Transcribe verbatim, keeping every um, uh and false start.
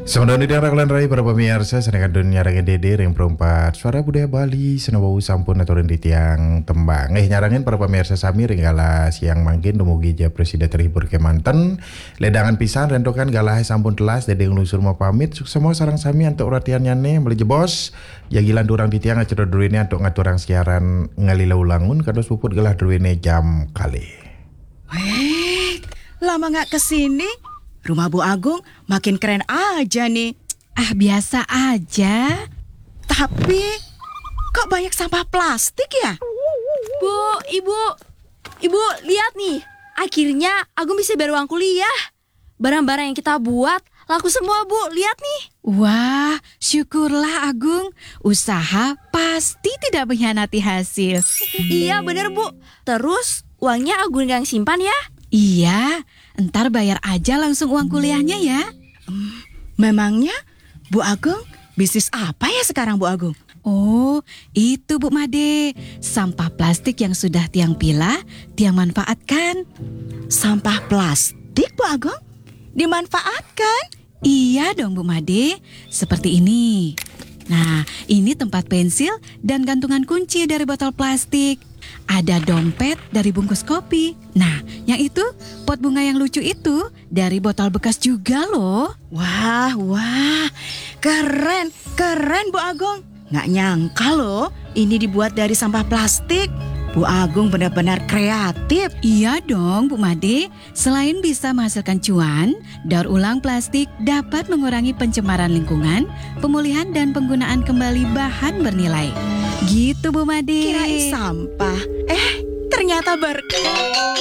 Selamat datang di Tiang Raglan Rai, para pemirsa, sané kantun nyarengin Dédé ring Perumpat Suara Budaya Bali, sinampura sampun aturin titiang tembang. Eh, nyarengin para pemirsa sami ring galah siang mangkin, dumugi ja prasida terhibur kémanten. Ledangan pisan, réntokan galahé sampun telas, Dédé nglungsur mapamit, suksma sareng sami antuk ratiannyané, malih jebos, jagilan durang titiang acara druéné antuk ngaturang siaran ngalila ulangun, kados puput galah druéné jam kalih. Wéh, lama nggak kesini, rumah Bu Agung makin keren aja nih. Ah, biasa aja. Tapi, kok banyak sampah plastik ya? Bu, Ibu, Ibu, lihat nih. Akhirnya Agung bisa bayar uang kuliah. Barang-barang yang kita buat laku semua, Bu. Lihat nih. Wah, syukurlah Agung. Usaha pasti tidak mengkhianati hasil. Iya, bener, Bu. Terus, uangnya Agung yang simpan ya? Iya, ntar bayar aja langsung uang kuliahnya ya. Hmm, memangnya Bu Agung bisnis apa ya sekarang, Bu Agung? Oh, itu Bu Made. Sampah plastik yang sudah tiang pilah, tiang manfaatkan. Sampah plastik, Bu Agung? Dimanfaatkan? Iya dong, Bu Made. Seperti ini. Nah, ini tempat pensil dan gantungan kunci dari botol plastik. Ada dompet dari bungkus kopi. Nah, yang itu, pot bunga yang lucu itu dari botol bekas juga loh. Wah, wah. Keren, keren, Bu Agung. Nggak nyangka loh, ini dibuat dari sampah plastik. Bu Agung benar-benar kreatif. Iya dong, Bu Made. Selain bisa menghasilkan cuan, daur ulang plastik dapat mengurangi pencemaran lingkungan, pemulihan dan penggunaan kembali bahan bernilai. Gitu, Bu Made. Kirain sampah. Eh, ternyata berkah.